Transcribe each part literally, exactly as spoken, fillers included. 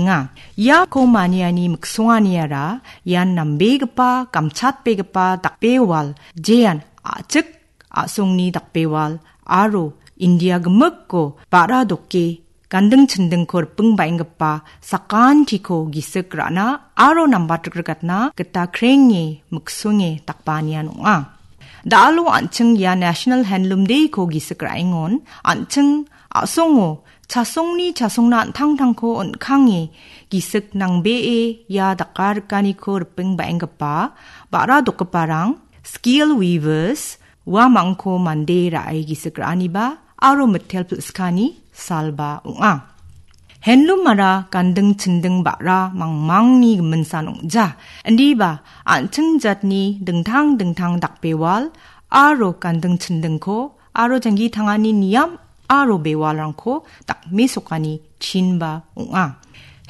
Nga, iako maniani miksonganiara ian nambegipa, gamchatbegipa dakbewal, jean a·chik a·songni dakbewal aro India gimikko ba·ra doke ganding chindingko riping ba·enggipa sakantiko gisik ra·na aro nambatrikrikatna gita krenge miksonge dakbanian ong·a. Da·alo an·ching ia National Handloom Day-ko gisik ra·engon an·ching a·songo chasongni chasongna an·tangtangko on·kange gisik nangbee ia dakarikaniko riping ba·enggipa ba·ra dokgiparang, skill weavers, uamangko mande ra·e gisik ra·aniba aro mitel pil·skani salba ong·a. Handloom-ara ganding chinding ba·ra mangmangni giminsan ong·ja. Indiba an·ching jatni dingtang dingtang dakbewal aro ganding chindingko aro janggi tangani niam aro bewalrangko dakmesokani chinba ong·a.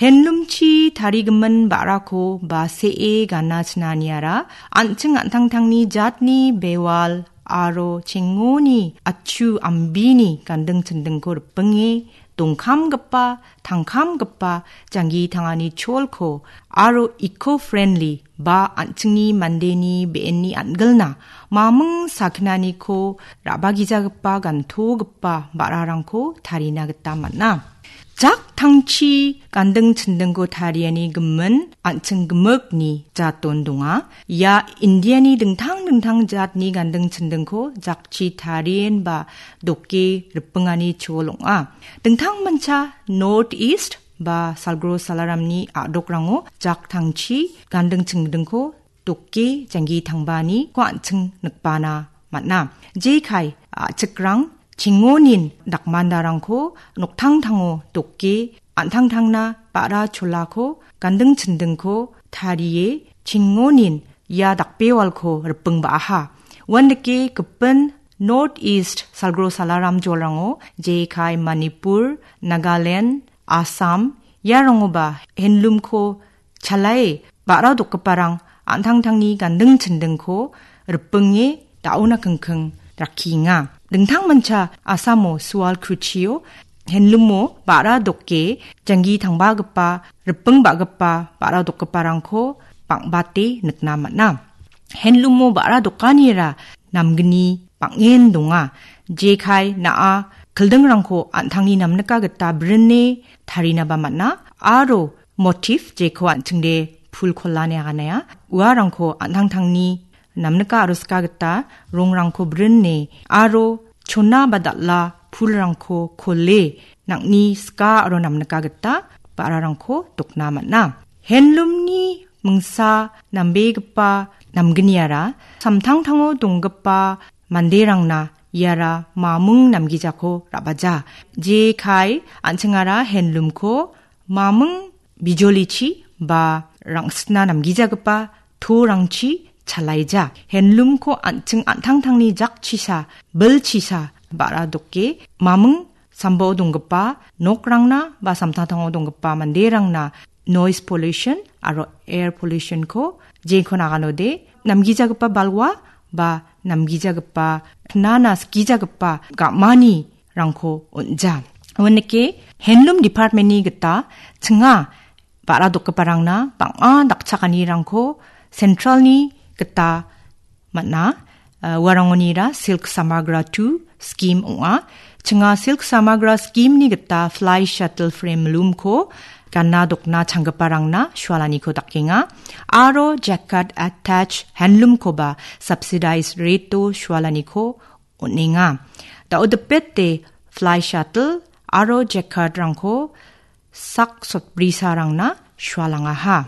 Handloom-chi tarigimin ba·rako ba se·e gana chinaniara an·ching an·tangtangni jatni bewal aro chengoni achu ambini ganding chindingko ripinge dongkamgipa, tangkamgipa janggi tangani cholko aro eco-friendly ba an·chingni mandeni be·enni an·gilna maming sakinaniko ra·bagijagipa gantogipa ba·rarangko tarina gita man·a. Jak tangchi ganding chindingko tariani gimin an·ching gimikni jaton donga. Ia Indiani dingtang dingtang jatni ganding chindingko jakchi tarien ba doke ripingani chol ong·a. Dingtangmancha North East ba Salgro Salaramni a·dokrango jak tangchi ganding chindingko doke janggi tangbaniko an·ching nikbana man·a. Jekai a·chikrang chingonin dakmandarangko noktangtango doke an·tangtangna ba·ra cholako ganding chindingko tarie chingonin ia dakbewalko riping ba·aha. Uandake gipin North East Salgro Salaram jolrango jekai Manipur, Nagaland, Assam, iarangoba handloom-ko chalae ba·ra dokgiparang an·tangtangni ganding chindingko ripinge da·ona kingking rakkienga. Dingtangmancha Assamo Sual Kruchio handloom-o ba·ra doke janggi tangbagipa, riping ba·gipa ba·ra dokgiparangko bang·bate nikna man·a. Handloom-o ba·ra dokanira namgni bang·en donga. Jekai na·a kildingrangko an·tangni namnika gita brine tarinaba man·a aro motif jeko an·chingde pul kola ine aganea. Uarangko an·tangtangni namnika aro sika gita rongrangko brine aro chona ba dal·a pulrangko kole nang·ni sika aro namnika gita ba·rarangko dokna man·a. Handloom-ni mingsa nambegipa namgniara samtangtango donggipa manderangna iara maming namgijako ra·baja. Jekai an·chingara handloom-ko maming bijolichi ba rang·sitna namgijagipa torangchi chalaija. Handloom-ko an·ching an·tangtangni jakchisa, bilchisa ba·ra doke maming sambao donggipa nokrangna ba samtangtango donggipa manderangna noise pollution aro air pollution-ko jeko naganode namgijagipa balwa ba namgijagipa knana skijagipa ga·manirangko on·ja. Uanike handloom department-ni gita chinga ba·ra dokgiparangna bang·a dakchakanirangko central-ni gita man·a. Uh, uarangonira Silk Samagra two scheme ong·a. Chinga Silk Samagra scheme-ni gita fly shuttle frame loom-ko gana dokna changgiparangna sualaniko dakenga. Aro jacquard attach handloom-koba subsidized rate-o sualaniko on·enga. Dao·dipete fly shuttle aro jacquard-rangko sak sotbrisarangna sualangaha.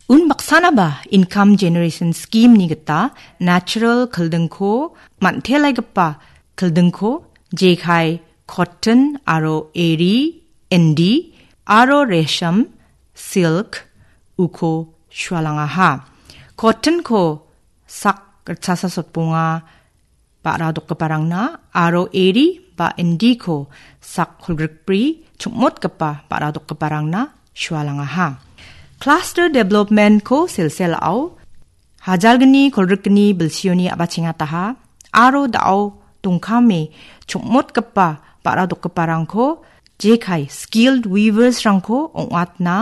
Unbaksanaba income generation scheme-ni gita natural kildingko man·telaigipa kildingko jekai cotton aro eri, indi aro resham, silk uko sualangaha. Cotton-ko sak ritchasa sotbonga ba·ra dokgiparangna aro eri ba indiko sak kolgrikbri chongmotgipa ba·ra dokgiparangna sualangaha. Cluster development-ko selsel a·o hajalgni kolgrikgni bilsioni a·bachengataha aro da·o dongkame chongmotgipa ba·ra dokgiparangko jekai skilled weavers-rangko ong·atna